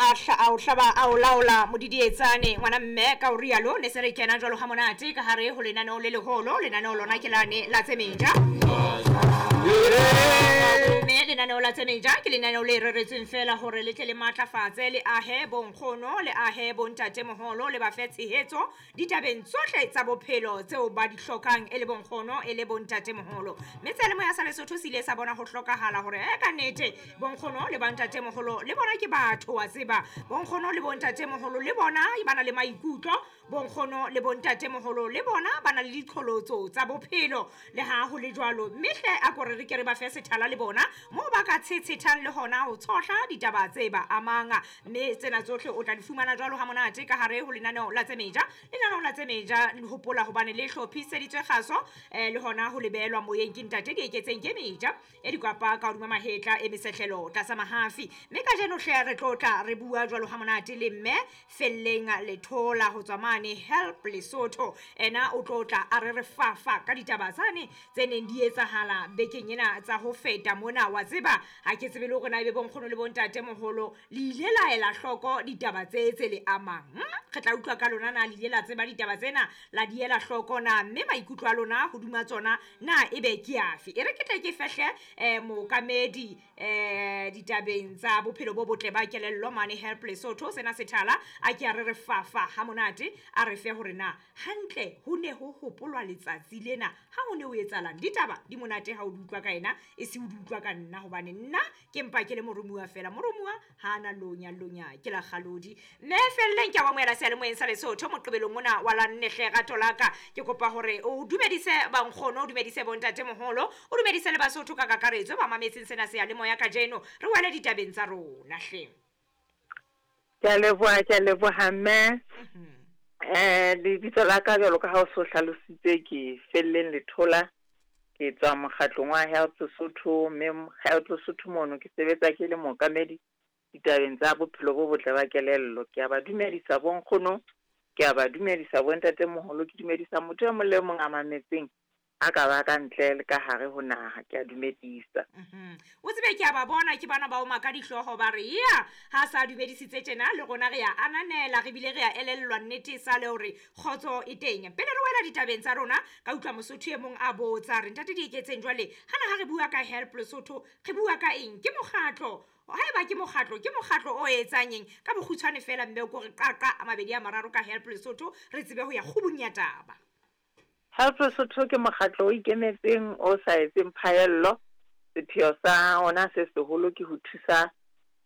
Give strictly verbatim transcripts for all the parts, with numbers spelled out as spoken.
A a o hlaba a o laola modidietsane ngwana mme ka o rialo ne se re kena jwalo ha monate ka hare ho lenaneo le leholo. Lenaneo lona ke lane la tse meja, mme lenaneo la tse meja ke lenaneo le reretsweng fela hore le tle le matlafatse le ahe bonkgono le ahe bontatemoholo le ba fe tshehetso ditabeng tsohle tsa bophelo tseo ba di hlokang e le bonkgono e le bontatemoholo. Mme seyalemoya sa Lesotho se ile sa bona ho hlokahala hore e ka nnete bonkgono le bontatemoholo le bona ke batho wa tseba, bonkgono le bontatemoholo le bona ba na le maikutlo, bonkgono le bontatemoholo le bona ba na le diqholotso tsa bophelo. Le ha ho le jwalo, mme hle a ko re re ke re ba fe sethala le bona moo ba ka tshetshethang le hona ho tshohla ditaba tse ba amang. Mme tsena tsohle o tla di fumana jwalo ha monate ka hare ho lenaneo la tse meja. Lenaneo la tse meja le hopola hobane le hlophiseditswe kgaso eh, le hona ho lebelwa moyeng ke ntate Dieketseng ke meja e dikwapa ka hodima mahetla e mesehlelo tlasa mahafi. Mme kajeno hle re tlo tla re bua jwalo ha monate le mme Felleng Lethola ho tswa mane Help Lesotho. Ena o tlo tla a re re fafa ka ditaba tsane tse neng di etsahala bekeng ena tsa ho feta mona. Wa tseba ha ke tsebe le hore na ebe bonkgono le bontatemoholo le ile la ela hloko ditaba tse tse le amang. Re tla utlwa ka lona na le ile la tseba ditaba tsena la di ela hloko na, mme maikutlo a lona hodima tsona na ebe ke afe. E re ke tle ke fehle eh, mookamedi eh, ditabeng tsa bophelo bo botle ba kelello mane Help Lesotho sena sethala a ke a re re fafa ha monate a re fe hore na hantle ho ne ho hopolwa letsatsi lena ha ho ne ho etsahalang. Ditaba di monate ha o di utlwa ka ena e se o di utlwa ka nna, hobane nna ke mpa ke le moromuwa fela. Moromuwa ha ana lonya lonya ke la kgalodi. Mme Felleng ke a amohela seyalemoyeng sa Lesotho moqebelong mona wa la nne hle rato la ka. Ke kopa hore o dumedise bankgono, o dumedise bontatemoholo, o dumedise le Basotho ka kakaretso ba mametseng sena seyalemoya kajeno. Re wele ditabeng tsa rona hle. Ke a leboha, ke a leboha mme. Eh lebitso la ka jwalo ka ha o so hlalositse ke Felleng Lethola, ke tswa mokgatlong wa Help Lesotho, mme Help Lesotho mono ke sebetsa ke le mookamedi ditabeng tsa bophelo bo botle ba kelello. Ke a ba dumedisa bonkgono, ke a ba dumedisa bontatemoholo, ke dumedisa motho e mong le mong a mametseng a ka ba ka ntle le ka hare ho naha, ke a dumedisa. O tsebe ke a ba bona ke bana ba oma ka dihlooho ba re ya ha sa dumedisitse tjena le rona re ya ananela, re bile re ya elellwa nnete sa le hore kgotso e teng. Pele re wela ditabeng tsa rona ka utlwa Mosotho e mong a botsa re ntate Dieketseng jwale hana ha re bua ka Help Lesotho re bua ka eng? Ke mokgatlo, haeba ke mokgatlo ke mokgatlo o etsang eng? Ka bokgutshwane fela mme o ko re qaqa a mabedi a mararo ka Help Lesotho re tsebe ho ya kgubung ya taba. Help Lesotho ke mokgatlo o ikemetseng o sa etseng phaello. Sepheo sa ona se seholo ke ho thusa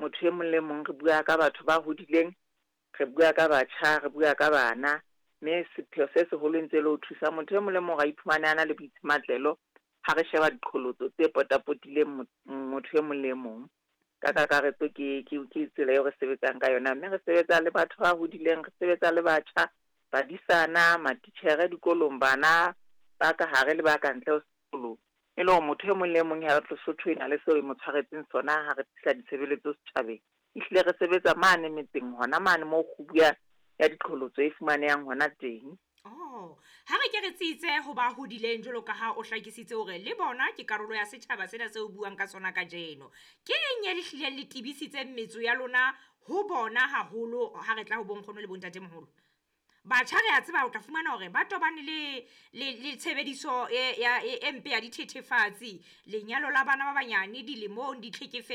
motho e mong le mong. Re bua ka batho ba hodileng, re bua ka batjha, re bua ka bana, mme sepheo se seholo ntse le ho thusa motho e mong le mong a iphumane a na le boitshimatlelo ha re sheba diqholotso tse potapotileng motho e mong le mong. Ka kakaretso ke ke ke tsela eo re sebetsang ka yona, mme re sebetsa le batho ba hodileng, re sebetsa le batjha, badisana, matitjhere dikolong, bana ba ka hare le ba ka ntle ho sekolo. E le hore motho e mong le mong Help Lesotho e na le seo e mo tshwaretseng sona ha re tlisa ditshebeletso setjhabeng. Ehlile re sebetsa mane metseng hona mane moo kgubu ya ya diqholotso e fumanehang hona teng. Oh, ha re ke re tsitse ho ba hodileng jwalo ka ha o hlakisitse hore le bona ke karolo ya setjhaba sena seo buang ka sona kajeno. Ke eng e le hlileng le tibisitseng metso ya lona ho bona haholo ha re tla ho bonkgono le bontatemoholo? Batjha re a tseba o tla fumana hore ba tobane le le le tshebediso e ya e mpe ya dithethefatsi, lenyalo la bana ba banyane dilemong, ditlhekefetso.